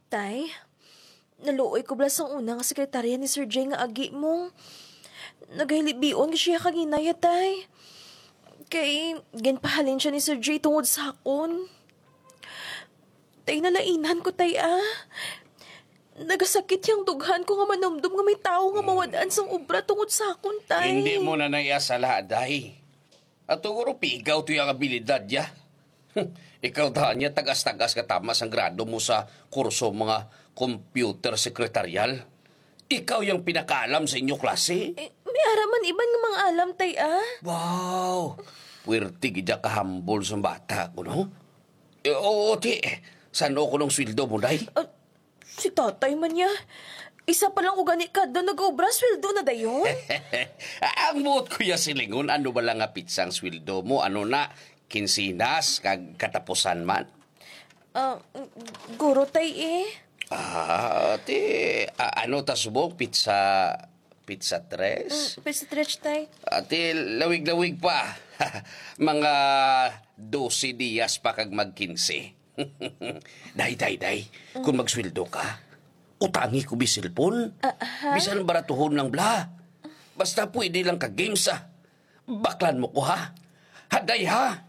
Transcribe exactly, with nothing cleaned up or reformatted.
Tay, naluoy ko bala sang una nga sekretarya ni Sir Jay nga agi mo. Nagahilibion ko siya kaginaya, tay. Kay ginpahalin siya ni Sir Jay tungod sa akon. Tay, nalainan ko, tay, ah. Nagasakit yang dughan ko nga manumdom nga may tawo nga mawad-an sang obra tungod sa akon, tay. Hindi mo na naiya sala, day. At siguro pigaw to yung abilidad niya. Ikaw dahan niya, tagas-tagas ka tama sang grado mo sa kurso mga computer secretarial. Ikaw yung pinakaalam sa inyo klase. Eh, may ara man iban nga mga alam, tay, ah. Wow! Puwerte gid ka humble sang bata ko, no? Eh, oo, ti. San-o ko nung sweldo mo, day? Ah, si tatay man niya. Isa pa lang ko gani kadlaw nag-obra, sweldo na dayon. Ang buot ko ya silingon, ano ba lang nga pitsang sweldo mo? Ano na, kinsinas, kag katapusan man? Ah, guro, tay, eh. Ah, ti, a-, ano ta subong? Pizza, pizza tres? Mm, pizza tres, tay. Ati, lawig-lawig pa. Mga dose dias pa kag mag kinse. Day, day, day, kung magsweldo ka, utangi ko bi cellphone. Ah, ha? Bisan baratuhon lang bla. Basta pwede lang ka games, ah. Baklan mo ko, ha? Haday, ha?